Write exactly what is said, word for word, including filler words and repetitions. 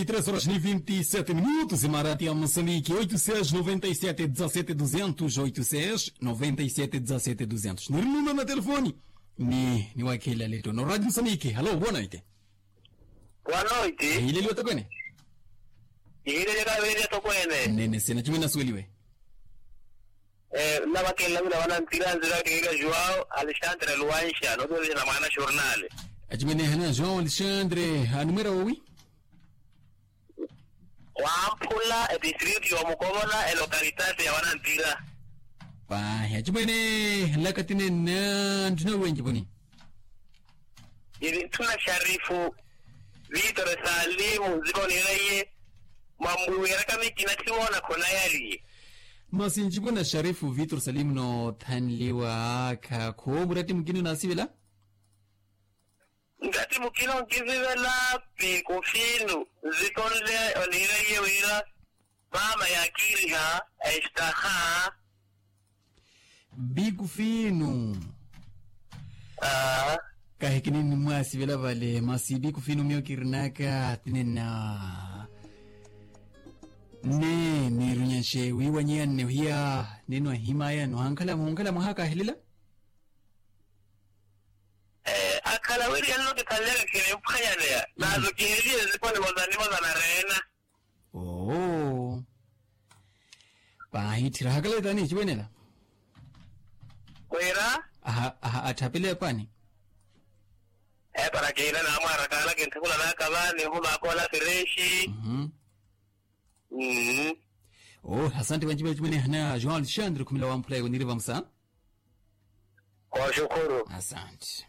Três horas ni vinte e sete minutos imarati ya moçambique oito seis noventa e sete dezasete duzentos oito seis noventa e sete dezasete duzentos niri numero na telefoni. Ni niwakhela leto no radio moçambique halo boa noite. Boa noite. Hileliwa tokwene. Hileliwa kavelia tokwene. Nene sena chumwe nasuweliwe. Navakelela wina vanantira nzira kiwira joão alexandre luanxa notuwelexana mwaana xornale. Achimwene hana joão alexandre anumwera wowi. Wamphula etistritu yomukovola elokalitati ya vanantira. Pahi achimwene lakatinenna nttuna wenji voni. Iri nttuna xarifu vitor salimu nziko niraiye. Mwambuwiraka mikina tthimoona khonayariye. Masi ncipuna xarifu vitor salimu noothanliwa akha khoomuratti mukina onaasivela. Nratti mukina onkisivela pikufinu nzikonle oniiraiye wira maama yaakiriha estaha. Bikufinu. Kahi kinini mwaasivela vale masi bikufinu miyo kirinaka tinena. Nne niirunyaxe wiiwanyiya nne ohiya ninwahimaya nohankhala muhunkhala mwahakahilela. Akhala wiri yanno kithanlyaka kinimphanyaneya nazo kiheliye nzikoni mozanimoza na reena. Oo. Pahi tthira hakaleta ni eciwenela. Wira. Aha aha atthapile epani. Epara kiina namwarakaala kintthukula naka vani nhumakola firexi. Mhm. Oo asante vanci vanci vene hana joão alexandre khumela wamphula ewe niri vamusa. Kooxukhuru. Asante.